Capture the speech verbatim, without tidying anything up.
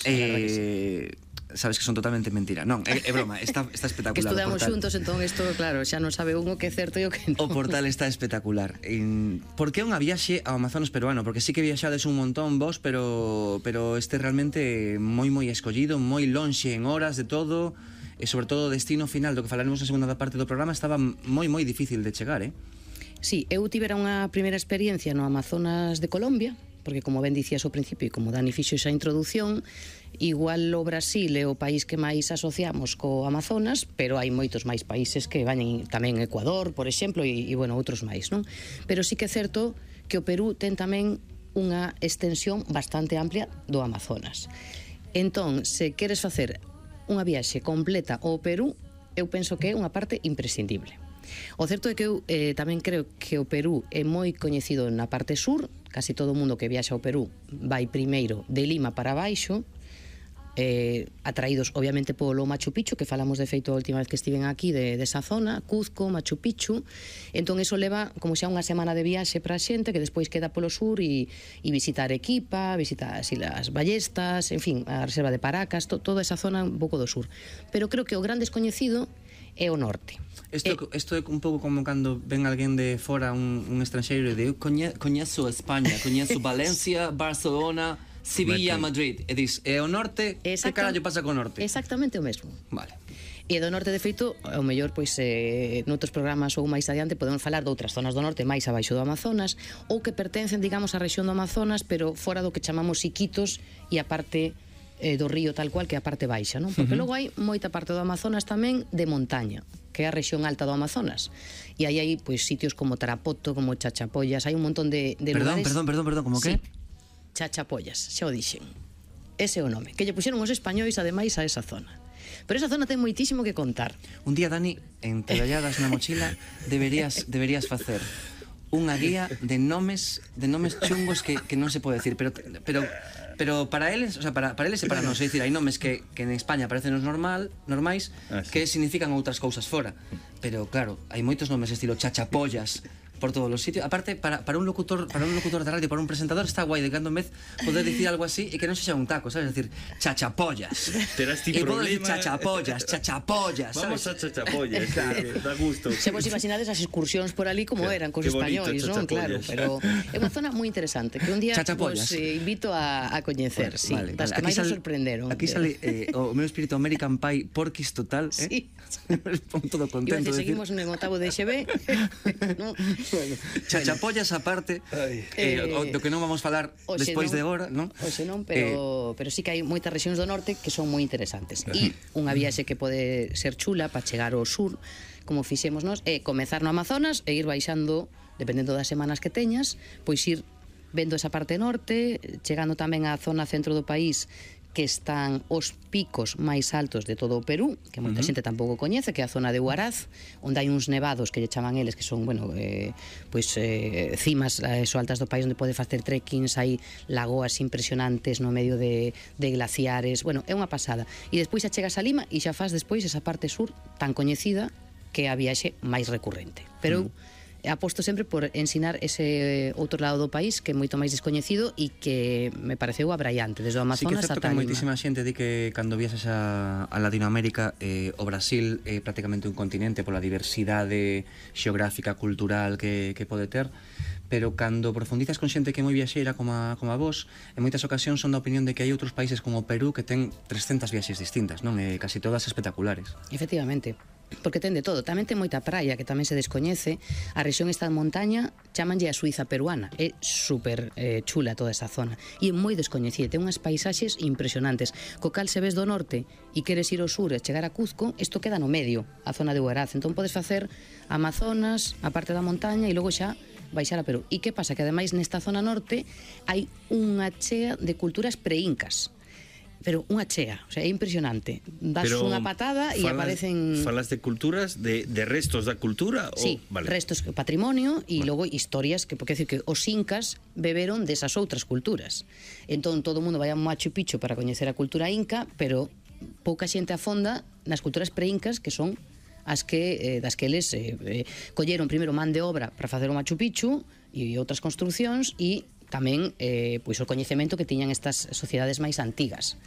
Eh... sabes que son totalmente mentira. Non, é, é broma, está, está espectacular. Que estudamos xuntos, entón isto, claro, xa non sabe un o que é certo e o que non. O portal está espectacular. En... Por que unha viaxe ao Amazonas peruano? Porque sí que viaxades un montón vos, pero pero este realmente moi moi escollido, moi lonxe en horas de todo, e sobre todo o destino final do que falaremos na segunda parte do programa estaba moi moi difícil de chegar, eh? Sí, eu tivera unha primeira experiencia no Amazonas de Colombia, porque como ben dicías ao principio e como Dani fixo esa introdución, igual o Brasil é o país que máis asociamos co Amazonas, pero hai moitos máis países que van tamén Ecuador, por exemplo, e, e bueno, outros máis, non? Pero sí que é certo que o Perú ten tamén unha extensión bastante amplia do Amazonas. Entón, se queres facer unha viaxe completa ao Perú, eu penso que é unha parte imprescindible. O certo é que eu eh, tamén creo que o Perú é moi coñecido na parte sur. Casi todo o mundo que viaxa ao Perú vai primeiro de Lima para baixo, eh, atraídos obviamente polo Machu Picchu, que falamos de feito a última vez que estiven aquí de, de esa zona, Cuzco, Machu Picchu. Entón eso leva como xa unha semana de viaxe para a xente que despois queda polo sur e, e visitar Arequipa, visitar as Islas Ballestas, en fin, a reserva de Paracas, to, toda esa zona un pouco do sur. Pero creo que o gran descoñecido é o norte. Isto, eh, isto é un pouco como cando ven alguén de fora, un, un estranxeiro, e de eu coñe, coñezo España, coñezo Valencia, Barcelona, Sevilla, Madrid. E dis, é o norte, que carallo pasa co norte? Exactamente o mesmo. Vale. E do norte, de feito, ao mellor, pois, eh, noutros programas ou máis adiante podemos falar de outras zonas do norte máis abaixo do Amazonas, ou que pertencen, digamos, á rexión do Amazonas, pero fora do que chamamos Iquitos e a parte eh, do río tal cual, que é a parte baixa, non? Porque uh -huh. logo hai moita parte do Amazonas tamén de montaña, que é a rexión alta do Amazonas. E aí hai pois sitios como Tarapoto, como Chachapollas, hai un montón de, de perdón, lugares. Perdón, perdón, perdón, como que? Sí, Chachapollas, xa o dixen. Ese é o nome, que lle puxeron os españois ademais a esa zona. Pero esa zona ten moitísimo que contar. Un día, Dani, en Teballadas na mochila deberías deberías facer unha guía de nomes de nomes chungos que, que non se pode decir, pero pero pero para eles, o sea, para para eles e para nós, é dicir, hai nomes que que en España parecen os normal, normais, ah, sí, que significan outras cousas fora. Pero claro, hai moitos nomes estilo Chachapollas por todos os sitios. Aparte, para, para un locutor para un locutor de radio, para un presentador, está guai de cando en vez poder dicir algo así e que non sexa un taco, sabes? Decir, Chachapollas. Terás ti problema. E Chachapollas, Chachapollas, vamos a Chachapollas, claro, da gusto. Se vos imaginades as excursións por ali como eran cos españois, non? Claro, pero é unha zona moi interesante que un día vos eh, invito a, a coñecer, sí, vale, das vale. que máis nos sorprenderon. Aquí sale eh, o meu espírito American Pie Porquis total, eh? Sí. Todo contento. Iba a decir, seguimos en octavo de X B. No. Bueno, Chachapollas aparte, eh, o, do que non vamos falar despois de agora, non? Oxe non, pero, eh, pero sí que hai moitas rexións do norte que son moi interesantes. E unha viaxe que pode ser chula para chegar ao sur, como fixemos nós, é comezar no Amazonas e ir baixando, dependendo das semanas que teñas, pois ir vendo esa parte norte, chegando tamén á zona centro do país, que están os picos máis altos de todo o Perú, que moita uh -huh. xente tampouco coñece, que é a zona de Huaraz, onde hai uns nevados que lle chaman eles, que son, bueno, eh, pois eh, cimas eh, so altas do país onde pode facer trekkings, hai lagoas impresionantes no medio de, de glaciares, bueno, é unha pasada. E despois xa chegas a Lima e xa faz despois esa parte sur tan coñecida que é a viaxe máis recurrente. Pero uh -huh. aposto sempre por ensinar ese outro lado do país que é moito máis descoñecido e que me pareceu abraiante desde o Amazonas ata Lima. Sí que é certo que moitísima xente di que cando viaxas a, a Latinoamérica eh, o Brasil é prácticamente un continente pola diversidade xeográfica, cultural que, que pode ter, pero cando profundizas con xente que é moi viaxeira como a, como a vos, en moitas ocasións son da opinión de que hai outros países como o Perú que ten trescentas viaxes distintas, non? E casi todas espectaculares. Efectivamente, porque ten de todo, tamén ten moita praia que tamén se descoñece. A rexión esta de montaña chamanlle a Suiza peruana, é super eh, chula toda esa zona e é moi descoñecida, ten unhas paisaxes impresionantes, co cal se ves do norte e queres ir ao sur e chegar a Cuzco, isto queda no medio, a zona de Huaraz, entón podes facer Amazonas, a parte da montaña e logo xa baixar a Perú. E que pasa? Que ademais nesta zona norte hai unha chea de culturas pre-incas, pero unha chea, o sea, é impresionante. Das pero unha patada e aparecen... Falas de culturas, de, de restos da cultura? Sí, o... vale. restos, patrimonio e vale. Logo historias, que porque decir que os incas beberon desas outras culturas. Entón todo o mundo vai a Machu Picchu para coñecer a cultura inca, pero pouca xente afonda nas culturas pre-incas, que son as que, eh, das que eles eh, eh, colleron primeiro man de obra para facer o Machu Picchu e outras construcións e tamén eh, pois o coñecemento que tiñan estas sociedades máis antigas.